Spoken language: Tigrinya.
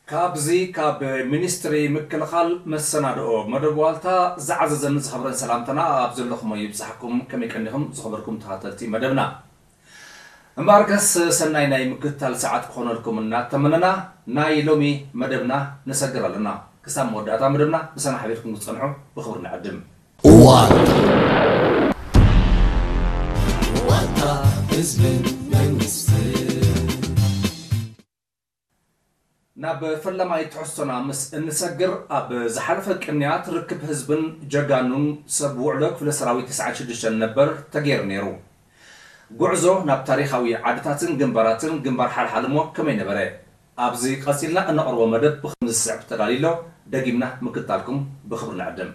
ካብዚ ካብ ሚኒስትሪ ምክልኻል መሰናድኦ መደብ ዋልታ ዝዓዘዘን ዝኸብረን ሰላምታና ኣብ ዘለኹሞ ይብጻሕኩም። ከመይ ቀኒኹም ዝኸበርኩም ተኸታተልቲ መደብና? እምበኣርከስ ሰናይ ናይ ምክትታል ሰዓት ክኾነልኩም እናተመነና ናይ ሎሚ መደብና ንሰግር ኣለና። ክሳብ መወዳእታ መደብና ምሳና ሓቢርኩም ክትጸንሑ ብኽብሪ ንዕድም። ዋልታ፣ ዋልታ ህዝብን መንግስትን። ናብ ፈላማይ ትሕዝቶና ምስ እንሰግር፣ ኣብ ዝሓለፈ ቅንያት ርክብ ህዝብን ጀጋኑን ሰብ ውዕሎ ክፍለ ሰራዊት ተስዓን ሽዱሽተን ነበር ተገይሩ ነይሩ። ጉዕዞ ናብ ታሪኻዊ ዓድታትን ግንባራትን ግንባር ሓልሓልሞ ከመይ ነበረ? ኣብዚ ቀጺልና እነቕርቦ መደብ ብኸምዚ ዝስዕብ ተዳልዩ ኣሎ። ደጊምና ምክትታልኩም ብኽብሪ ንዕድም።